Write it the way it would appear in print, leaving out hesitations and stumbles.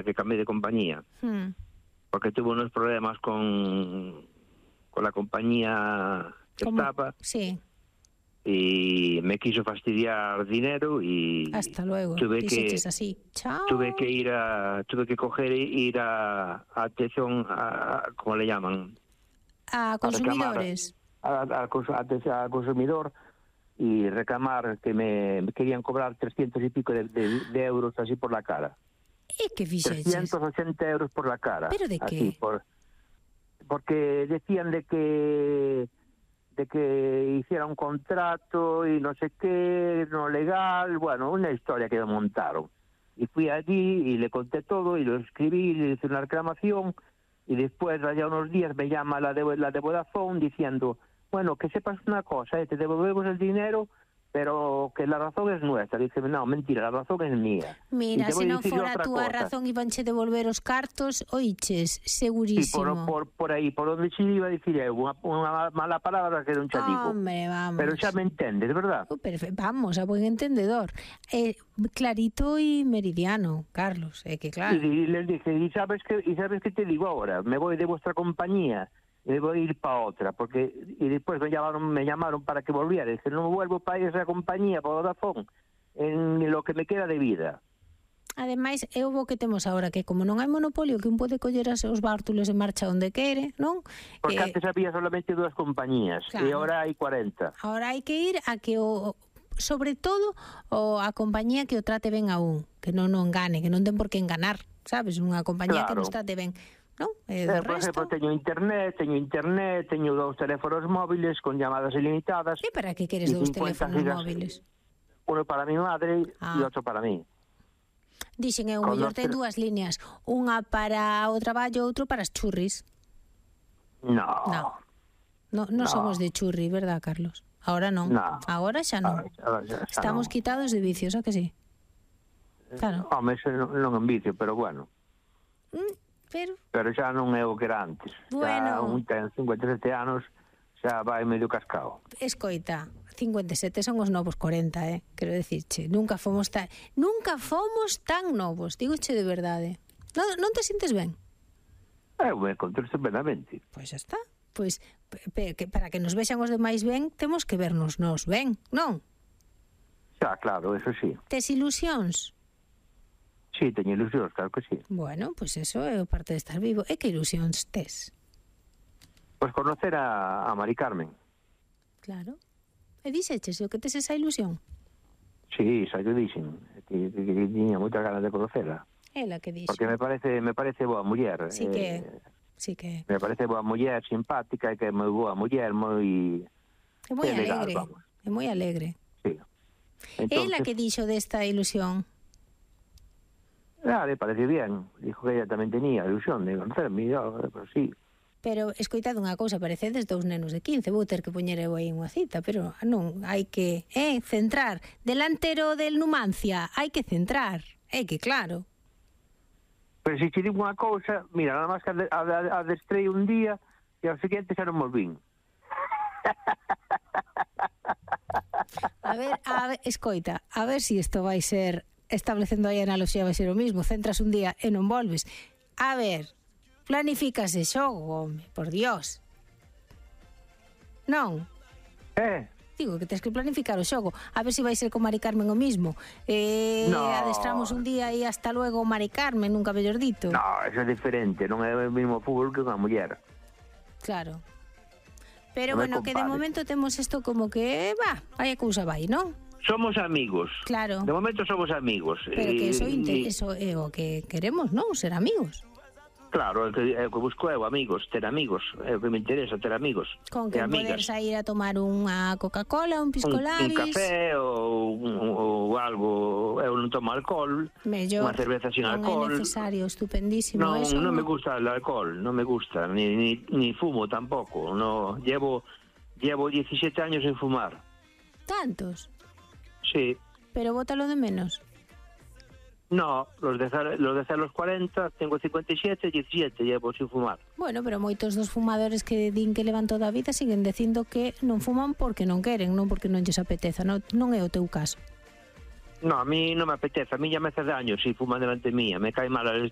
que cambié de compañía. Porque tuve unos problemas con la compañía que estaba. Sí. Y me quiso fastidiar dinero y hasta luego. Tuve así. Chao. Tuve que coger ir a atención ¿cómo le llaman? A consumidores. Al consumidor y reclamar que me querían cobrar 300 y pico de euros así por la cara. ¿Y qué fixeches? 380 euros por la cara. ¿Pero de así, qué? Porque decían de que hiciera un contrato y no sé qué, no legal, bueno, una historia que me montaron. Y fui allí y le conté todo y lo escribí, le hice una reclamación y después, allá unos días, me llama la de Vodafone diciendo, bueno, que sepas una cosa, te devolvemos el dinero, pero que la razón es nuestra. Dice, no, mentira, la razón es mía. Mira, se non fora a túa razón ibanche devolver os cartos, oiches, segurísimo. Sí, por aí, por onde se iba a dicir unha mala palabra que non xa digo. Hombre, vamos. Pero xa me entendes, verdad? Vamos, a buen entendedor. Clarito y meridiano, Carlos, que claro. Y les dije, ¿y sabes qué te digo ahora? Me voy de vuestra compañía y voy a ir para otra, porque y después me llamaron para que volviera. Dice, no vuelvo para esa compañía, para Vodafone, en lo que me queda de vida. Ademais, é o bo que temos agora, que como non hai monopolio, que un pode coller os bártulos e marcha onde quere, non? Porque antes había solamente 2 compañías, claro. E agora hai 40. Agora hai que ir a que sobre todo a compañía que o trate ben a un, que non o engane, que non ten por que enganar, sabes? Unha compañía que nos trate ben. ¿No? Por exemplo, teño internet, teño 2 teléfonos móviles con llamadas ilimitadas. E para que queres 2 teléfonos móviles? Uno para mi madre e outro para mí. Dixen, o mellor ten 2 líneas, unha para o traballo, outro para as churris. No somos de churri, verdad, Carlos? Ahora non. Agora xa non. Estamos quitados de vicios, a que sí? Claro. Home, non en vicio, pero bueno. Pero xa non é o que era antes. Bueno. Xa un ten 57 anos, xa vai medio cascao. Escoita, 57 son os novos 40, quero dicirche. Nunca fomos tan novos, digoche de verdade. Non te sintes ben? Eu me encontro estupendamente. Pois xa está. Pois, para que nos vexan os demais ben, temos que vernos nós ben, non? Xa, claro, eso sí. Tes ilusións? Sí, teño ilusións, claro que sí. Bueno, pois eso é parte de estar vivo. E que ilusións tes? Pois conocer a Mari Carmen. Claro. E dixeches o que tes esa ilusión? Sí, xa yo dixen. Que tiña moitas ganas de conocerla. Ela que dixo. Porque me parece boa muller. Sí que. Me parece boa muller, simpática, e que é moi boa muller, moi... É moi alegre. Vamos. É moi alegre. Sí. Entonces, ela que dixo desta ilusión? Le parece bien. Dijo que ella tamén tenía ilusión de conocerme, pero sí. Pero, escoitad unha cousa, parecedes 2 nenos de 15, vou ter que poñer eu aí unha cita, pero non, hai que, centrar. Delantero del Numancia, hai que centrar, que claro. Pero se te digo unha cousa, mira, nada máis que adestrei un día e ao seguinte xa non volvín. A ver, escoita, a ver si isto vai ser, establecendo aí a analogía, vai ser o mismo, centras un día e non volves. A ver, planifícase xogo, home, por Dios. Non? Digo que tens que planificar o xogo. A ver se vai ser con Mari Carmen o mismo. Adestramos un día e hasta luego Mari Carmen, nunca mellor dito. No, eso é diferente, non é o mismo fútbol que unha muller. Claro. Pero bueno, que de momento temos isto como que, vai a cousa vai, non? Somos amigos. Claro. De momento somos amigos. Pero que eso é o que queremos, non? Ser amigos. Claro, é o que busco eu, amigos, ter amigos. É o que me interesa, ter amigos. Con que poder sair a tomar unha Coca-Cola, un piscolabis... Un café ou algo... Eu non tomo alcohol. Mellor. Unha cerveza sin alcohol. Non é necesario, estupendísimo. Non me gusta el alcohol, non me gusta. Ni fumo tampouco. No, llevo 17 años sin fumar. ¿Tantos? Sí. Pero bótalo de menos. No, los de los 40, tengo 57, 17, llevo sin fumar. Bueno, pero moitos dos fumadores que din que levan toda a vida siguen dicindo que non fuman porque non queren, non porque non lles apeteza, non é o teu caso. No, a mí no me apetece, a mí ya me hace daño si fuman delante mía, me cae mal el